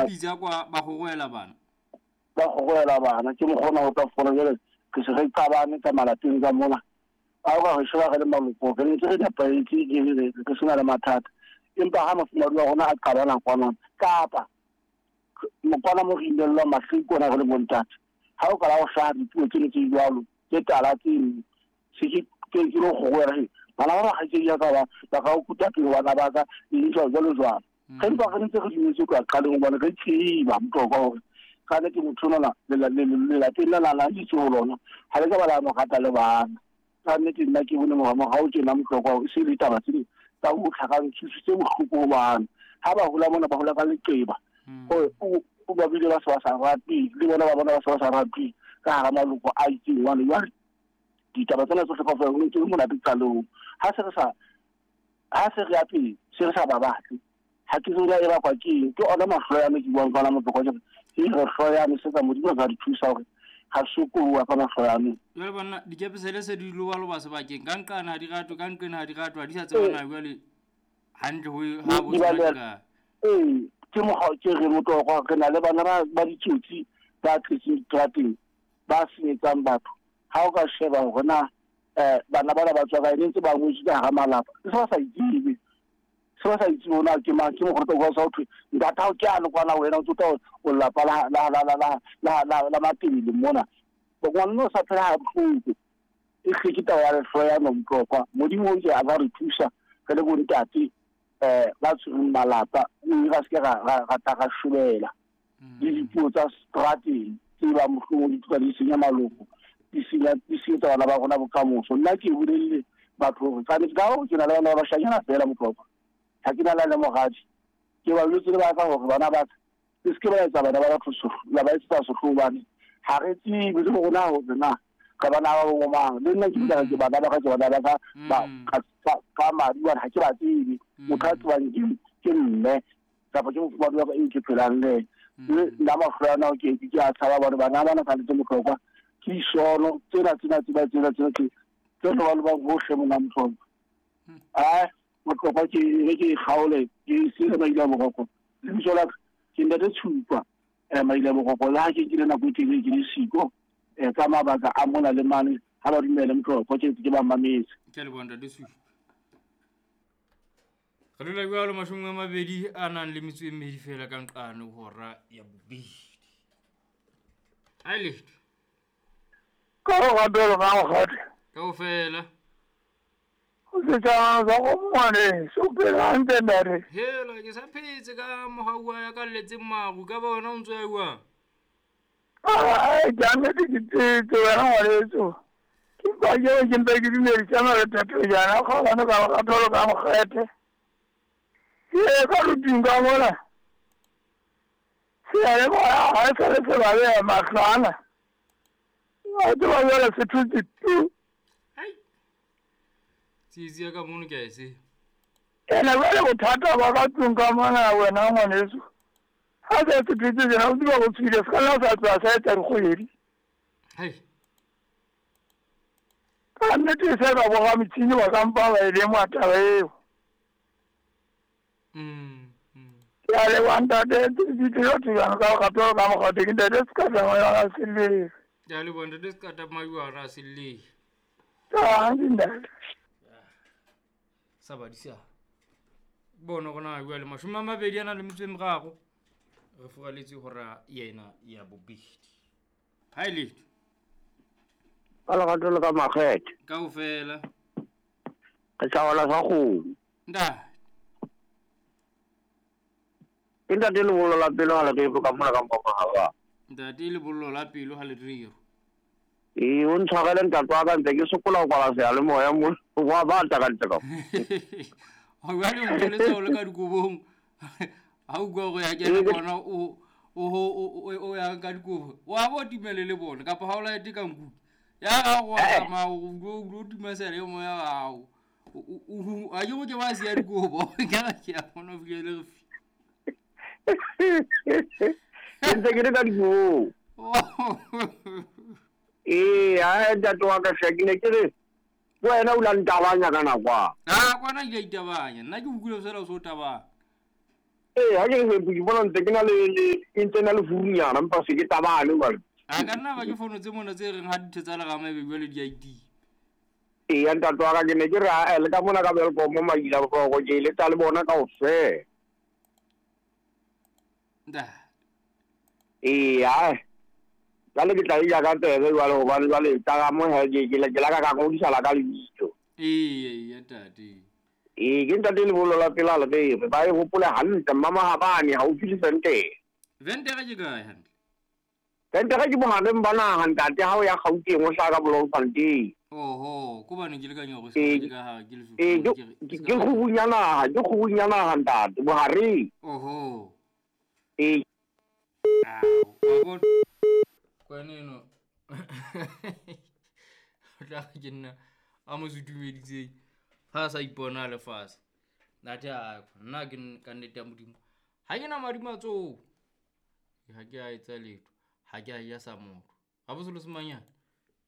Pitsa kwa ba gogoela bana. Ba gogoela bana ke mokgona go tla fola jale re se re qabane ka malapeng ka mona. A o ka re sheba re le maloko re ntse re nepahetse re sena le mathata. Empa ha mofumahadi wa rona a qabana kwana kapa mokwana mo re inellwang mahloko kona re le bontate. Ha o kala o hlaha dipuo tseno tse jwalo tse tala tseno se ke ke lo gogoela he bana ba bakgaitsedi ya ka ba ka o kuta pele bana ba ka eng jwalo jwalo jwalo. Ge mpa re ntse re dumetse kwa qaleng hobane re tseba Motlokwa hore ka nnete motho onana lelapeng la la itse ho lona ha le ka ba la mo rata le bana. Ka nnete nna ke bone morao tjena Motlokwa hore e se le taba tse ding tsa ho tlhakang thuso tse bohloko ho bana. Ha ba hola mona ba hola ka leqeba. O ba bile ba se ba sa ratwe le bona ba bona ba se ba sa ratwe ka hara maloko a itseng jwale. Jwale ditaba tsena tsohle kaofela ho ntse ho monate qalong. Ha se re sa ha se re ya pele se re sa ba batle. Ha ke tsebe e bakwa ke eng. Ke ona mahloyano ke buang ka ona Motlokwa ke re re hloyane se ka Modimo a ka re thusa hore ga sokoloha ka mahloyano. Jwale banna dikepesele se di lobaloba sebakeng ka nqane ha di ratwe ka nqene ha di ratwe ha di sa tsebana jwale hantle ho ha bo tsena ka. Ee ke mokgwa ke re Motlokwa re na le bana ba ditsotsi ba tletseng diterateng ba senyetsang batho. Ha o ka sheba hore na bana bana ba tswa kae ne ntse ba ngwetswe ka hara malapa se ba sa itsebe. Se ba sa itse hore na ke mang ke mokgotsa wa sa thwe ntate hao ke a le kwana wena o tsota o lelapa la la la la la la la la Matebele mona. Ngwana o sa phela ha bohloko. E hle ke taba ya lehloyano Motlokwa. Modimo o ntse a ka re thusa re le bontate ba tshwereng malapa mme ra se ke ra tla ra shobela le dipuo tsa strateng tse ba mohlomong di tloha di senya maloko di senyetsa bana ba rona bokamoso. Nna ke bolelle batho hore ka nnete ka hore ke na le bana ba bashanyana feela Motlokwa. Ha ke na le moradi. Ke ba jwetse le ba ka hore bana ba ka le se ke ba etsa bana ba batho la ba etsetsa sehloho hobane ha re tsebe le rona hore na ka bana ba bo mang. Le nna ke bile ke bana ba ka ke bana ba ka ka madi hobane ha ke ba tsebe. Motho a tsebang ke mme kapa ke mofumahadi wa ka eo ke phelang le yena. Mme nna mahloyana ao ke a tshaba hobane bana bana ka nnete Motlokwa ke disono tsena tsena tsena tsena tsena tse tse lobalobang hohle mona Motlokwa. Ai Motlokwa ke re ke kgaole ke sele maile a boroko. Lebitso la ka ke Ntate Tshupa maile a boroko le ha ke nkile nako e telele ke le siko ka mabaka a mona le mane ha ba dumele Motlokwa ke ntse ke ba mametse. Ke a leboha Ntate Tshupa. Re dula jwalo 22 a nang le metso e mmedi fela ka nqane hora ya bobedi. Ai letho. Ka go gapelo ka mokgatlo. Kaofela. O setšhaba sa go ngwane so phela hantle ntate. Hela ke sa phetse ka mogau wa ya ka letseng maru ka ba wena o ntse ya jwang? Ai ke nnete ke tsetse wena ngwaneso. Ke kwa ke ke mpe ke dumedisa mare thato jaana kgolane ka lerato ka mokgethe. Ke ka ruting ka mola. Seyalemoya ga e sa le se ba beya mahlwana. Wa tseba jwale se thotse tu. Ai. Tsietsi ya ka mono ke a e tseba. Ene jwale bothata ba ka tlung ka mona wena ngwaneso. Ha se se thotse jena o tseba go tswile se ka nna sa tloha sa etsa dikgwedi. Hai. Ka nnete se ka boga metšhini ba ka mpa ba e lemoha taba eo. Ke a leboha ntate ditiro ka gape ka mokgatho ke ntate Sekata a Selele. Ke a leboha ntate Sekata Majuara a Selele. Tanki ntate. Sa badisa. Bona gona jwale 23 a na le metso e meraro. Re furaletse hora yena ya bobedi. Ha e letho. Ka lerato le ka makgethe. Kaofela. Re hlaola sa kgomo. Ntate. Ke ntate lebollo la pelo ha le rero ka mona ka mpapa. Ntate lebollo la pelo ha le rero. Ee, o ntshwarele ntate wa ka ntse ke sokola ho kwala seyalemoya mo wa bata ka ntle ka. Jwale o ntshweletse o le ka dikobong. Ha o utlwa hore ya kena bona o ya ka dikobo. Wa bo timele le bona kapa ha o laete ka nku. Ya ga go tsamaya o tima seyalemoya ya hao. O a ke go ke ba siya dikobo. Ke a bona o fihlele re fi. Ke ntse ke le ka dikobong. Ee, ha ntate wa ka hle ke ne ke re wena o la ntabanya ka nako a. Ah, kwana ke a itabanya. Nna ke utlwile fela o so tabanya. Ee, ha ke le ke bona ntse ke na le e ntse na le furunyana empa se ke tabane jwale. A ka nna ba ke fono tse mona tse reng ha ditho tsa lerama ebe jwale di a itia. Eya ntate wa ka ke ne ke re ae le ka mona ka Welkom Maila Bohloko ke eletsa le bona kaofela. Nta. Ee ae jwale ke tla e ja ka tsebe jwale hobane jwale tsa ka mo he ke ke la ka ka ngodisa la ka lebitso. Eya eya ntate. Ee ke ntate lebollo la pela lebere ba e hopole hantle mmamahabane haufi le Ventere. Ventere ke kae hantle? Ventere ke bohareng ba naha ntate ha o ya Gauteng o hlaha ka Bloemfontein. Oho, ko bane ke le ka nyoro Ee, ke ka ha ke le ee ke ke kgubung ya naha, ke kgubung ya naha ntate, bohareng. Oho. Ee. Ao, wa bona. Kwaneno. O tla re ke nna a mo sutumeditseng. Ha a sa ipona a le fatshe. Athe a nna ke ka nnete ya Modimo. Ha ke na madi matsoho. Ha ke a etsa letho. Ha ke a ja sa motho. Ha bo selo se manyane.